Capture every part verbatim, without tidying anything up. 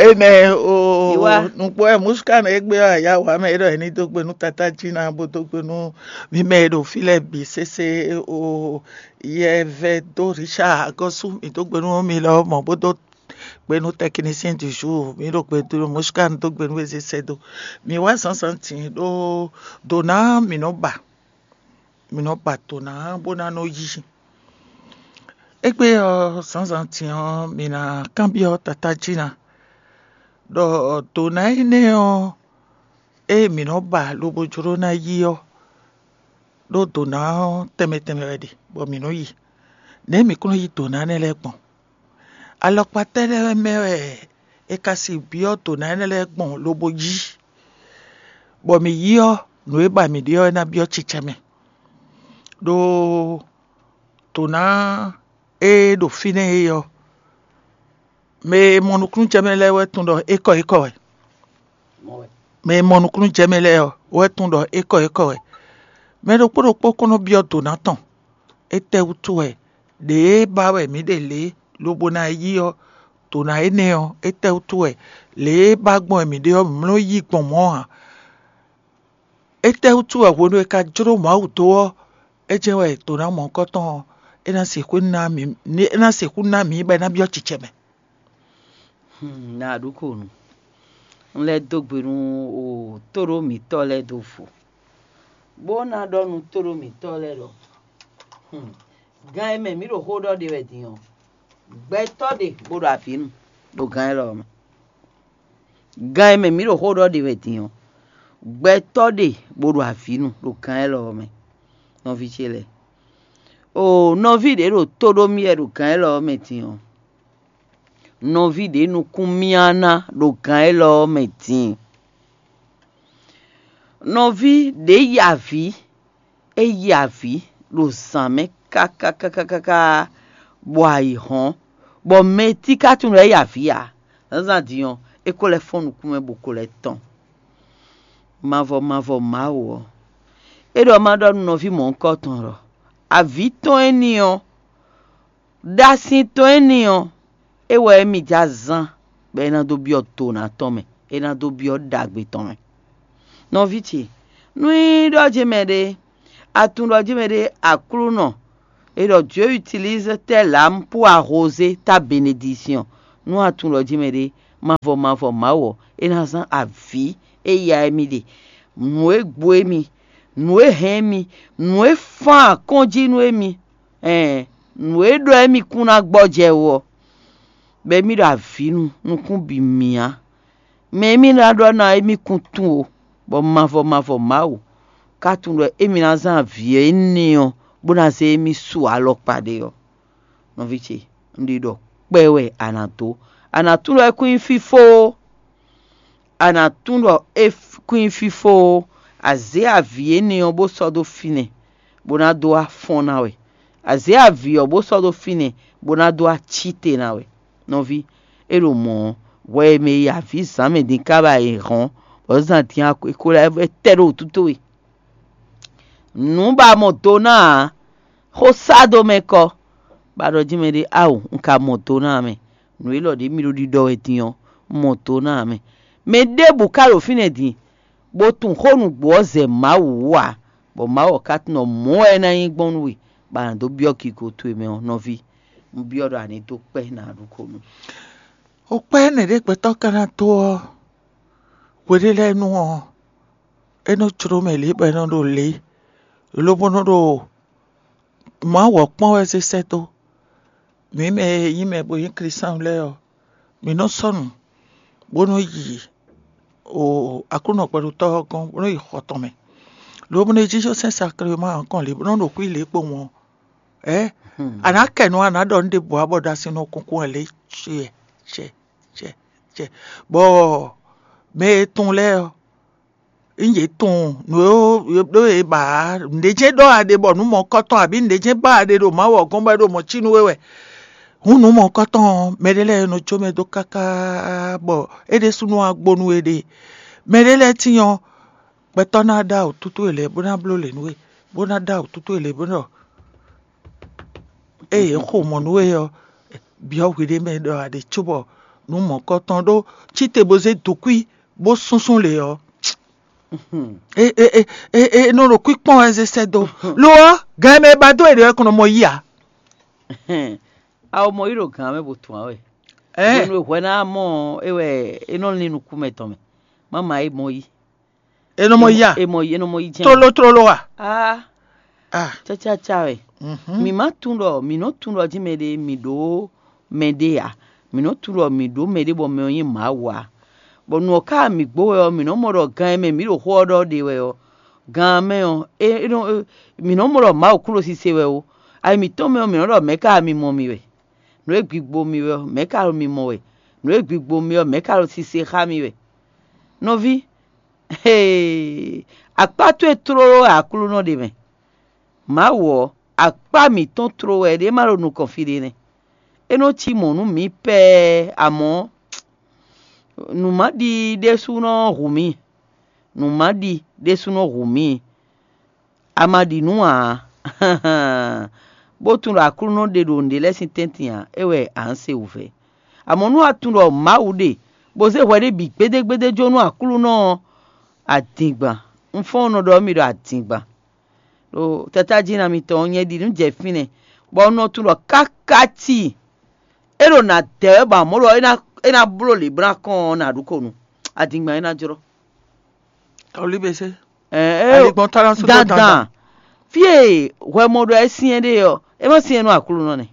Enɛ o, nukpó ɛ musuka nɔ egbe ɔ ya wa mɛ ɖɔ ɛni dó gbe nú tata jí ná bó dó gbe nú mi mɛ e ɖo fí lɛ bǐ sésé o. Yɛ vɛ dó Richard agɔ́sú mi dó gbe nú mi lɔ mɔ bó dó gbe nú technicien du jour, mi ɖo gbe dó musuka dó gbe nú ezé sɛ dó. Mi wá zǎnzǎn tǐn ɖó dǒ ná mi nɔ ba mi nɔ ba dǒ ná bó ná nɔ yí. Égbé ɔ́, zǎnzǎn din ɔ́, mi ná kanbyɔ́ tatá jí ná ɖɔ dǒ ná énɛ́ ɔ́, ée mǐ nɔ ba lobo jló ná yí ɔ́, ɖó dǒ ná ɔ́ tɛnmɛ tɛnmɛ wɛ ɖe, bɔ mǐ nɔ yi. Nɛ̌ mǐ kún nɔ yí dǒ ná énɛ́ lɛ́ɛ gbɔn? Alɔkpa tɛ́ lɛ́ɛ mɛ wɛ è ka si byɔ́ dǒ ná énɛ́ lɛ́ɛ gbɔn lobo yí, bɔ mǐ yí ɔ́, nǔ e ba mǐ ɖe ɔ́ é ná byɔ́ cicɛ mɛ. Ɖó dǒ ná e ɖo fínɛ́ é ɔ́, mɛ e mɔ nukúnnú jɛ mɛ lɛ́ɛ wɛ tunwun ɖɔ é kɔ é kɔ wɛ. Mɛ e mɔ nukúnnú jɛ mɛ lɛ́ɛ ɔ́ wɛ tunwun ɖɔ é kɔ é kɔ wɛ. Mɛ ɖokpó ɖokpó kɔn nɔ byɔ́ dǒ ná tɔn. Étɛ́wútu wɛ ɖě ba wɛ mǐ ɖe lě lobo ná yí ɔ́, dǒ ná énɛ́ ɔ́, étɛ́wútu wɛ lě e ba gbɔn wɛ mǐ ɖe ɔ́, mǐ nɔ yí gbɔn mɔ̌ ǎ? Étɛ́wútu wɛ hwenu e ka jló Mawu dó ɔ́, é jɛ́n wɛ dǒ ná mɔ̌hunkɔtɔn ɔ́, é ná sixú ná mǐ, é ná sixú ná mǐ bɔ é ná byɔ́ cicɛ mɛ? Na ɖu ko nu. Un lɛ́ dó gbe nú tóɖó mǐtɔn lɛ́ɛ dó vo, bó ná ɖɔ nú tóɖó mǐtɔn lɛ́ɛ ɖɔ gán e mɛ mǐ ɖo xó ɖɔ ɖe wɛ din ɔ́, gbɛtɔ́ ɖe bó ɖo avǐ nu ɖo gán élɔ́ mɛ. Gán e mɛ mǐ ɖo xó ɖɔ ɖe wɛ din ɔ́, gbɛtɔ́ ɖe bó ɖo avǐ nu ɖo gán élɔ́ mɛ. Nɔví ce lɛ́ɛ, o nɔví ɖě ɖo tó ɖó mì wɛ ɖo gǎn élɔ́ ɔ́ mɛ din ɔ́, nɔví ɖě nukún myá ná ɖo gǎn élɔ́ ɔ́ mɛ din. Nɔví ɖě yi avǐ, é yi avǐ ɖo zǎn mɛ káká káká káká bɔ ayǐ hɔ́n, bɔ mɛ e tí ka tunwun ɖɔ é yi avǐ ǎ. Zǎnzǎn din ɔ́, é ko lɛ́ fɔ́n nukún mɛ bó ko lɛ́ tɔ́n. Mavɔ mavɔ Mawu ɔ́, é ɖɔ ma ɖɔ nú nɔví mɔ̌hunkɔtɔn ɖɔ avǐ tɔn éní ɔ́, ɖasin tɔn éní ɔ́, é wɛ émí jɛ azán bɔ é ná dó byɔ́ dǒná tɔn mɛ, é ná dó byɔ́ ɖagbe tɔn mɛ. Nɔví ce, nú nyí ɖɔ jɛ́n mɛ ɖé, a tunwun ɖɔ jɛ́n mɛ ɖé Aklúnɔ, é ɖɔ Dieu utilise telle âme pour arroser ta bénédiction. Nú a tunwun ɖɔ jɛ́n mɛ ɖé, mavɔ mavɔ Mawu ɔ́, é ná zán avǐ e ya émí ɖe, nǔ e gbo émí, nǔ e hɛn émí, nǔ e fán akɔ́njí nú émí, ɛɛn nǔ e ɖɔ émí kún ná gbɔjɛ́ wú ɔ́, bɔ émí ɖo avǐ nu nukún bǐ myá. Mɛ émí ná ɖɔ ná émí kún tunwun o, bɔ mavɔ mavɔ Mawu ka tunwun ɖɔ émí ná zán avǐ énɛ́ ɔ́ bó ná zé émí su alɔkpa ɖé ɔ́. Nɔví ce, un ɖi ɖɔ kpɛ wɛ a nǎ dó. A nǎ tunwun ɖɔ é kún nyí fífó ó. A nǎ tunwun ɖɔ é kún nyí fífó ó. A zě avǐ énɛ́ ɔ́ bó sɔ́ dó fínɛ́, bó ná dó wá fɔ́n ná wɛ. A zě avǐ ɔ́ bó sɔ́ dó fínɛ́, bó ná dó wá cí te ná wɛ. Nɔví, é ɖo mɔ̌ ɔ́, hwɛ e mɛ e yi avǐ zǎn mɛ din ká ba yi hɔ́n, bɔ zǎn din ɔ́, é ko lɛ́ tɛ ɖo wǔtu towe. Nǔ ba mɔ do ná ǎ, xó sá dó mɛ kɔ, bɔ a ɖɔ jí mɛ ɖé, ao, un ka mɔ do ná ǎ mɛ. Nǔ élɔ́ ɖě mi ɖo ɖiɖɔ wɛ din ɔ́, un mɔ do ná ǎ mɛ. Mɛ ɖěbǔ ka ɖo fínɛ́ din, bó tunwun xó nǔgbó ɔ́ zɛ Mawu wú ǎ, bɔ Mawu ɔ́ ka tunwun ɖɔ mɔ̌ wɛ é ná nyí gbɔn nú we, bɔ a nǎ dó byɔ́ gigo towe mɛ ɔ́, nɔví, un byɔ́ ɖɔ a ní dó kpɛ́ nǎ ɖu ko nú. Xó kpɛ́ énɛ́ ɖě gbɛtɔ́ ka ná dó ɔ́, hwe ɖé lɛ́ɛ nu ɔ́, é nɔ jló mɛ lě bɔ é nɔ ɖo lě, lobo nɔ ɖo Mawu ɔ́ kpɔ́n wɛ zé sɛ́ dó. Mǐ mɛ e nyí mɛ bo nyí Klísu lɛ́ɛ ɔ́, mǐ nɔ sɔ́ nǔ, bó nɔ yi o Aklúnɔ gbɛɖotɔ́ ɔ́ gɔ́n, bó nɔ yi xɔ tɔn mɛ. Lobo nɔ yi jínjɔ́n sɛ́n Saklema ɔ́ kɔn lě bó nɔ ɖo xwí lě kpowun ɔ́, ɛ a nǎ kɛ nǔ a nǎ ɖɔ nǔ ɖěbǔ ǎ bɔ ɖo asin nɔ kunkun wɛ lě cɛ cɛ cɛ cɛ bɔ mɛ e tunwun lɛ́ɛ ɔ́, un yě tunwun nǔ e ɖó e ba ǎ. Nǔɖé jɛ́n ɖɔ a ɖe bɔ nǔ mɔ̌kɔtɔn abǐ nǔɖé jɛ́n ba a ɖe ɖo Mawu ɔ́ gɔ́n bɔ é ɖo mɔ̌ cí nú we wɛ. Hǔn nǔ mɔ̌kɔtɔn ɔ́, mɛɖé lɛ́ɛ nɔ jó mɛ dó káká bɔ é ɖésúnɔ wá gbo nú we ɖe. Mɛɖé lɛ́ɛ tíin ɔ́, gbɛtɔ́ ná ɖó awǔtútú e lɛ́ɛ bó ná bló lě nú we, bó ná ɖó awǔtútú e lɛ́ɛ bó ɖɔ ée yě xo mɔ̌ nú we ɔ́, byɔ́ hwiɖée mɛ ɖɔ a ɖe cóbɔ nǔ mɔ̌kɔtɔn ɖó cíte bó zé dǒkwí bó súnsún lě ɔ́, é nɔ ɖo kwíkpɔ́n wɛ zé sɛ́ dó. Lo ɔ́, gan e mɛ e ba dó e ɖě wɛ kɔn nɔ mɔ yí ǎ. Awo mɔ yí ɖo gǎn mɛ bó tun ǎ wɛ. Hwenu e hwɛ ná mɔ é wɛ é nɔ lín nukún mɛ tɔn mɛ. Má ma é mɔ yí. É nɔ mɔ yí a? É mɔ yí é nɔ mɔ yí jɛ́n. Tlóló tlóló a? Ah, ah, cacaca wɛ. Mǐ má tunwun ɖɔ mǐ nɔ tunwun ɖɔ jí mɛɖé mǐ ɖó mɛɖé ǎ. Mǐ nɔ tunwun ɖɔ mǐ ɖó mɛɖé bɔ mɛ ɔ́ nyí Mawu ǎ. Bɔ nǔ ɔ́ ká mǐ gbo wɛ ɔ́, mǐ nɔ mɔ ɖɔ gan e mɛ mǐ ɖo xó ɔ́ ɖɔ ɖe wɛ ɔ́, gan mɛ ɔ́, é é nɔ é- mǐ nɔ mɔ ɖɔ Mawu kún ɖo sise wɛ ó. Ayi mǐtɔn mɛ ɔ́, mǐ nɔ ɖɔ mɛ̌ ka mi mɔ mi wɛ? Nǔ e gbigbo mi wɛ ɔ́, mɛ̌ ka ɖo mi mɔ wɛ? Nǔ e gbigbo mi ɔ́, mɛ̌ ka ɖo sise xá mi wɛ? Nɔví, hee, akpá towe tlóló wɛ Aklúnɔ ɖe mɛ. Mawu ɔ́, akpá mǐtɔn tló wɛ ɖě ma ɖo nukɔn fí ɖé nɛ́. É nɔ cí mɔ̌ nú mǐ pɛɛ, amɔ̌, nǔ ma ɖi ɖésú nɔ hu mǐ. Nǔ ma ɖi ɖésú nɔ hu mǐ. A ma ɖi nǔ ǎ, bó tunwun ɖɔ Aklúnɔ ɖe ɖo nǔɖé lɛ́ɛ sín tɛ́ntin ǎ, é wɛ a nǎ se wǔvɛ́. Amɔ̌ nú a tunwun ɖɔ Mawu ɖe, bó zé hwɛ ɖé bǐ gbédégbédé jó nú Aklúnɔ ɔ́, adingban. Un fɔ́n un nɔ ɖɔ nú mi ɖɔ adingban. Ɖo tatájínɔ mitɔn ɔ́, nyɛ ɖi nǔ jɛ fínɛ́, bɔ un nɔ tunwun ɖɔ káká tíi é ɖo nǎ dɛ wɛ bɔ amɔ̌ ɖɔ é ná é ná bló lě bó ná kɔn ɔ́, nǎ ɖu ko nu. Adingban é ná jlɔ́. Olíbese. Ɛɛ, é Aligbɔn tɔn ná sú dó dandan. Dandan. Fí e hwɛ mɔ ɖɔ é syɛ́n ɖe ɔ́, é má syɛ́n nú Aklúnɔ nɛ́.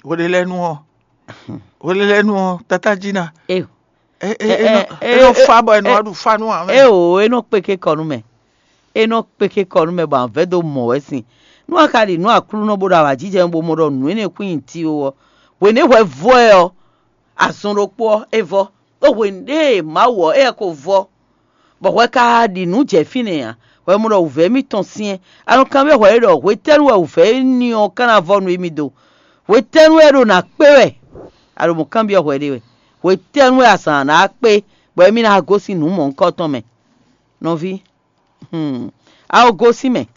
Hweɖelɛ́nu ɔ́, hweɖelɛ́nu ɔ́, tatájínɔ. É É é é nɔ é nɔ fa bɔ é nɔ wá ɖu fa nú ǎ mɛ. É o, é nɔ kpéké kɔ nú mɛ. É nɔ kpéké kɔ nú mɛ bɔ avɛ̌ dó mɔ wɛ sin. Nú a ka ɖi nǔ Aklúnɔ bó ɖo awǎjijɛ bó mɔ ɖɔ nǔ énɛ́ kún nyi ti ó ɔ́, hwěnɛ́ hwɛ vɔ́ ɛ ɔ́, azɔn ɖokpó ɔ́, é vɔ́. Ɖó hwěnɛ́ e Mawu ɔ́, éyɛ́ ko vɔ́, bɔ hwɛ ka ɖi nǔ jɛ fínɛ́ ǎ. Hwɛ mɔ ɖɔ wǔvɛ́ mitɔn syɛ́n. A nɔ kanbyɔ́ hwɛ é ɖɔ hwetɛ́nu wɛ wǔvɛ́ éní ɔ́ ka ná vɔ́ nú émí dó? Hwetɛ́nu wɛ é ɖo nǎ kpé wɛ? A ɖo mɔ̌ kanbyɔ́ hwɛ ɖé wɛ. Hwetɛ́nu wɛ azǎn ná kpé, bɔ émí ná gosín nǔ mɔ̌hunkɔtɔn mɛ? Nɔví, hmm, a ko gosín mɛ,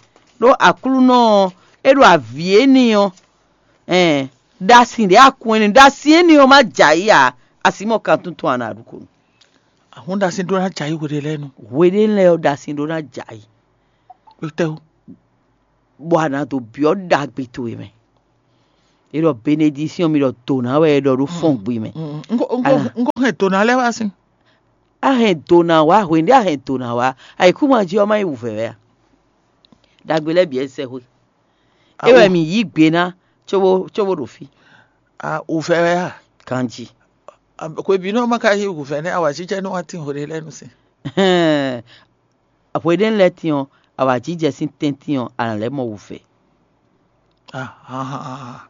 ɖó Aklúnɔ ɔ́, é ɖo avǐ éní ɔ́, ɛn, ɖo asi ɖě a kun éní, ɖo asi éní ɔ́ má jɛ ayǐ ǎ, a sǐ mɔ kan tuntun a nǎ ɖu ko nú. Ahún ɖo asi ɖó ná jɛ ayǐ hweɖelɛ́nu. Hweɖé lɛ́ɛ ɔ́, ɖo asi ɖó ná jɛ ayǐ. Kpétɛ́wú. Bɔ a nǎ dó byɔ́ ɖagbe towe mɛ. É ɖɔ benedisíɔn mi ɖɔ dǒ ná wɛ é ɖɔ ɖó fɔ́n gbe mɛ. Un ko un ko un ko hɛn dǒ ná lɛ́ wá sín. A hɛn dǒ ná wá hwěɖé a hɛn dǒ ná wá, ayǐkúngban jí ɔ́ má nyí wǔvɛ́ wɛ a? Ɖagbe lɛ́ɛ bǐ wɛ sɛxwé. É wɛ mǐ yí gbe ná cóbó cóbó ɖo fí. A wǔvɛ́ wɛ a? Ganjí. Hwebǐnu ɔ́ ma ka nyí wǔvɛ́ nɛ́ awǎjijɛ nú wá tín hweɖelɛ́nu sín. Hwěɖé lɛ́ɛ tín ɔ́, awǎjijɛ sín tɛ́ntin ɔ́, a nǎ lɛ́ mɔ wǔvɛ́. Ahan.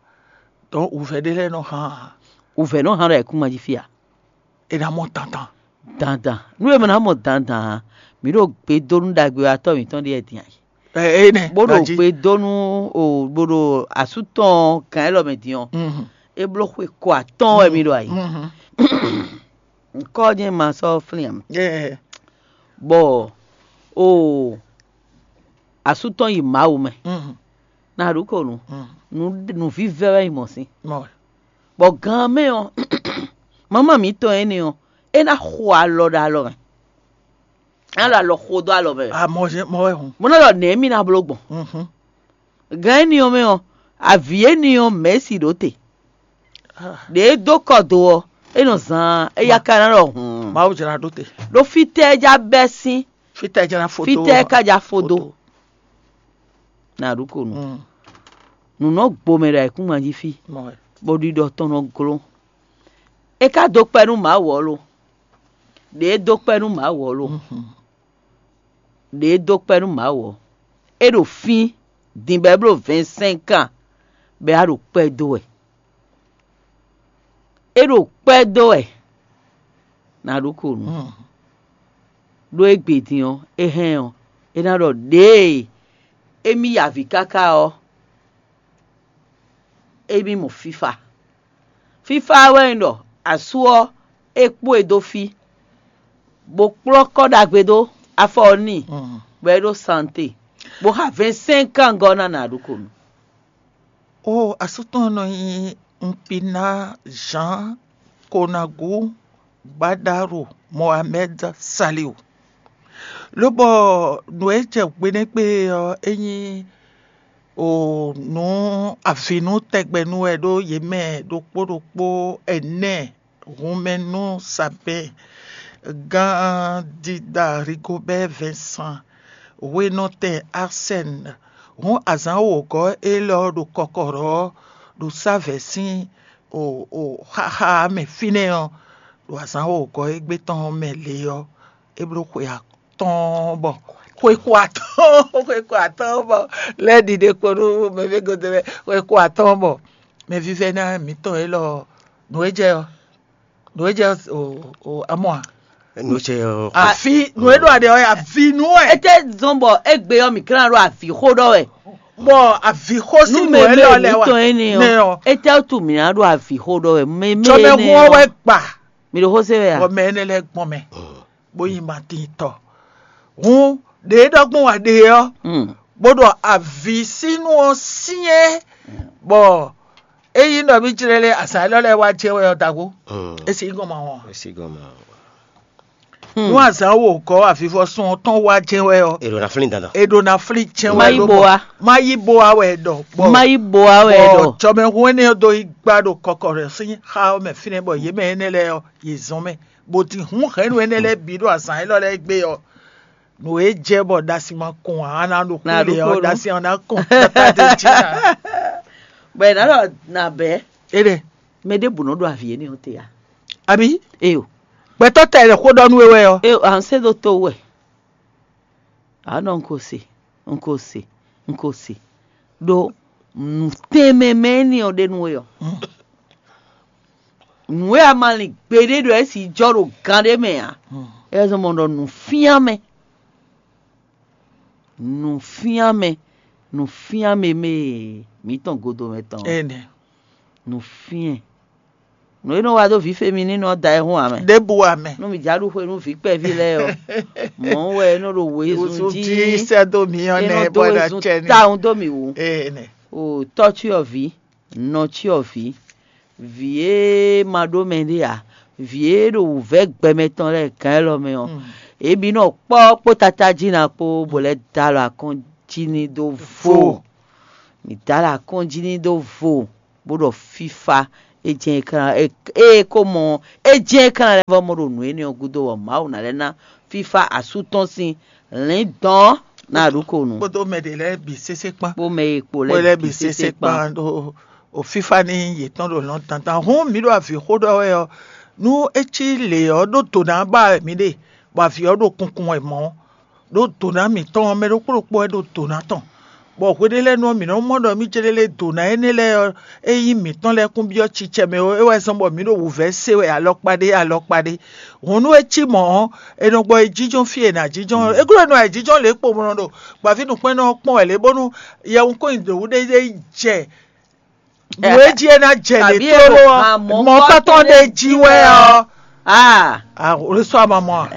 Donc wǔvɛ́ ɖé lɛ́ɛ nɔ hán. Wǔvɛ́ nɔ hán ɖo ayǐkúngban jí fí a? È nǎ mɔ dandan. Dandan. Nú e mɛ ná mɔ dandan ǎ, mǐ ɖo gbe dó nú ɖagbe ɔ́ atɔ́ mǐtɔn ɖíe din ayǐ. Ɛ ɛ nɛ. Bó ɖo gbe dó nú o bó ɖo asú tɔn gǎn élɔ́ mɛ din ɔ́, é bló xwe ko atɔ́ɔ́n wɛ mǐ ɖo ayǐ. Ŋkɔ jɛ́n ma sɔ́ flín ǎ. Bɔ o asú tɔn yi Mawu mɛ. Ná ɖu ko nu. Nǔvívɛ́ wɛ nyí mɔ̌ sín. Bɔ gan mɛ ɔ́, mama mǐtɔn énɛ́ ɔ́, é ná xo alɔ ɖo alɔ mɛ. É ná ɖo alɔ xo dó alɔ mɛ. Amɔ jɛ mɔ wɛ hun. Mo ná ɖɔ nɛ̌ mì ná bló gbɔn. Gan énɛ́ ɔ́ mɛ ɔ́, avǐ énɛ́ ɔ́ mɛ̌si ɖó te. Ɖě é dó kɔ do ɔ́, é nɔ zaan, éyá ka ná ɖɔ hǔn. Mawu jlá ɖó te. Ɖó fítɛ́ é já bɛ́ sín, Fítɛ́ jlá foto. Fítɛ́ é ka já fó dó. Ná ɖu ko nu. Nǔ nɔ gbo mɛ ɖo ayǐkúngban jí fí, bɔ ɖiɖɔ tɔn nɔ glɔ́n. É ka dó kpɛ́ nú Mawu ɔ́ lo? Ɖě é dó kpɛ́ nú Mawu ɔ́ lo? Ɖě é dó kpɛ́ nú Mawu ɔ́, é ɖo fín din bɔ é bló vɛ̌ɛnsɛ́nkan bɔ é wá ɖo kpɛ́ dó wɛ. É ɖo kpɛ́ dó wɛ. Ná ɖu ko nu. Ɖó égbé din ɔ́, é hɛn ɔ́, é ná ɖɔ ɖěe émí ya avǐ káká ɔ́, émí mɔ fífá. Fífá wɛ nyí ɖɔ asú ɔ́, é kpó e dó fí, bó kplɔ́ kɔ́ ɖagbe dó afɔ ɔ́ n'i, bɔ é ɖó sante, bó xa vɛ̌ɛnsɛ́nkan gɔ́ ná nǎ ɖu ko nu. O asú tɔn nɔ nyi Mpina Jean Konagu Gbadaru Mohamed Saliu. Lobɔ nǔ e jɛ gbe nɛ́ gbe ɔ́, é nyí o nǔ avǐnú tɛgbɛ nú wɛ ɖó yě mɛ ɖokpó ɖokpó ɛnɛ hunmɛ nú Sabɛn, gán Dida Rigobɛ́ Vɛnsan, hwenɔtɛn Arsɛn. Hǔn azǎn wǒgɔ́ élɔ́ ɖo kɔkɔɖɔ ɔ́ ɖo sávɛ̌ sín o o xaxa mɛ fínɛ́ ɔ́, ɖo azǎn wǒgɔ́ égbé tɔn mɛ lě ɔ́, é bló xwe atɔ́ɔ́n bɔ xwe ko atɔ́ɔ́n xwe ko atɔ́ɔ́n bɔ lɛ́ ɖiɖe kpo nú mɛvégɔ́dɛ́ lɛ́ɛ xwe ko atɔ́ɔ́n bɔ mɛvívɛ́ná mǐtɔn élɔ́ nǔ e jɛ ɔ́ nǔ e jɛ o o amɔ a nú ce ɔ́. Àfi nǔ e ɖo aɖe ɔ́, àfi nú ɛ. Ete zɔn bɔ egbe ɔ́ mi klán ɖo avi xó ɖɔ wɛ. Bɔ àvi xó sí nú nú ɛ lɔ lɛ wa tɔn énɛ́ nɛ ɔ́ ɔ. Ete tu mi ná ɖo avi xó ɖɔ wɛ. Mɛ mɛ Tsɔmɛhun ɔ́ wɛ gba mi ɖo xó se wɛ bɔ a. Mɛ énɛ́ lɛ́ gbɔn mɛ bó yi ma tín tɔ. Hun ɖe e ɖɔgbɔn wa ɖe ɔ́, Mm. bó ɖɔ àvi sínú ɔ́ syɛ́n bɔ ényí ɖɔ mí jlɛ́ lé azǎn élɔ́ lɛ́ɛ wá jɛ wɛ ɔ́ dago. Mm. É sì gɔn ma wɔn. Esi gɔmɔ. Nú azǎn wǒgɔ́ avivɔsún ɔ́ tɔn wá jɛ wɛ ɔ́, Èrò na flin dandan. è ɖo na flín jɛ wɛ Má yí bo wá. Má yí bo wá wɛ ɖɔ. Má yí bo wá wɛ ɖɔ. Tsɔmɛhun énɛ́ ɔ́ dó yi gbá ɖo kɔkɔ rɛ sín xá ɔ́ mɛ fínɛ́ bɔ yě mɛ énɛ́ lɛ́ɛ ɔ́, yě zɔn mɛ, bó din hun hɛ̌nnu énɛ́ lɛ́ɛ bǐ ɖo azǎn élɔ́ lɛ́ɛ gbé ɔ́, nǔ e jɛ bɔ ɖasi ma kɔn ǎ ná ɖo Ná kúlé ɖo ɔ́ kúlé. Ɖasi ɔ́ ná kɔn tata dé jí ná. Bɔ ɛ ná ɖɔ na bɛ́ Éɖe, mɛ ɖé bǔ nɔ ɖo avi énɛ́ ɔ́ te a. àbí Eyo. Gbɛtɔ́ tɛ lɛ xó ɖɔ nú we wɛ ɔ́. Eyo, à ń sɛ́ dó tó wɛ. Anɔ n ko se, n ko se, n ko se. Ɖo nǔtɛnmɛ mɛ énɛ́ ɔ́ ɖe nú we ɔ́. Nǔ e a ma lin gbeɖé ɖɔ é si jɔ ɖo gán ɖé mɛ ǎ. É zɔn mɔ ɖɔ nǔfíánmɛ. Nǔfíánmɛ, nǔfíánmɛ mɛ mǐtɔn godo mɛ tɔn. Énɛ́, Nǔfíɛn. Nǔ e nɔ wa dó vǐ femi ní nɔ da ɛ hún amɛ. ɖěbǔ amɛ. Nú mi já ɖu xwe nú vǐ kpɛví lɛ́ɛ ɔ́. Mɔ̌ wɛ é nɔ ɖo wezun Wozun jí. jí sɛ́ dó mǐ ɔ́ É nɛ nɔ dó bɔ ɖa wezun cɛ ní. Tawun dó mì wú. Énɛ́, O tɔ́cyɔvǐ, nɔcyɔvǐ, vǐ e ma ɖó mɛ ɖé ǎ, vǐ e ɖo wǔvɛ́ gbɛmɛ tɔn lɛ́ɛ gǎn élɔ́ mɛ ɔ́, é bí nɔ kpɔ́ kpó tata jí ná kpó bó lɛ́ dó alɔ akɔ́n jí ní dó vo. Mǐ dó alɔ akɔ́n jí ní dó vo, bó ɖɔ fífá é jɛ́n é klán é é ko mɔ é jɛ́n é klán lɛ́ vɔ mɔ ɖo nǔ énɛ́ ɔ́ gúdo bɔ Mawu ná lɛ́ ná fífá asú tɔn sín lǐndɔ̌n ná ɖu ko nǔ. Kpódó mɛ ɖě lɛ́ɛ bǐ sésé kpán. Kpó mɛ e kpo Kpó lɛ́ lɛ́ bǐ sésé kpán ɖó o fífá ní yětɔn ɖo lɔn dandan. Hǔn mǐ ɖo avǐ xó ɖɔ wɛ ɔ́, nú é cí lě ɔ́ ɖó dǒ ná ba wɛ mǐ ɖe, bɔ avǐ ɔ́ ɖo kunkun wɛ mɔ̌. Ɖó dǒ ná mǐtɔn ɔ́, mɛ ɖokpó ɖokpó wɛ ɖo dǒ ná tɔn. Bɔ hweɖé lɛ́ɛ nu ɔ́, mǐ nɔ́ mɔ ɖɔ mí céɖélé dǒ ná énɛ́ lɛ́ɛ ɔ́, é nyí mǐtɔn lɛ́ɛ kún byɔ́ cicɛ mɛ ó, é wɛ zɔ́n bɔ mǐ ɖo wǔvɛ́ se wɛ alɔkpa ɖé alɔkpa ɖé. Hǔn nú é cí mɔ̌ ɔ́, è nɔ gbɔ yi jínjɔ́n fí e è nǎ jínjɔ́n é glɔ́ nɔ ayǐjínjɔ́n lě kpo mlɔ ɖo gbǎví nǔkpɛ́nnɔ ɔ́ kpɔ́n wɛ lě bónú yɛhunnkɔ́nyi ɖěwú ɖé ɖé yi jɛ nǔ e jí é ná jɛ lě Tàbí tlóló èrò ɔ́, kan mɔ̌ mɔ̌kpátɔ́ kpátɔ́ ɖé ɖé jí jí wɛ wɛ ɔ́. Ah, Àwòrán sọ àmọ́ mọ́ a.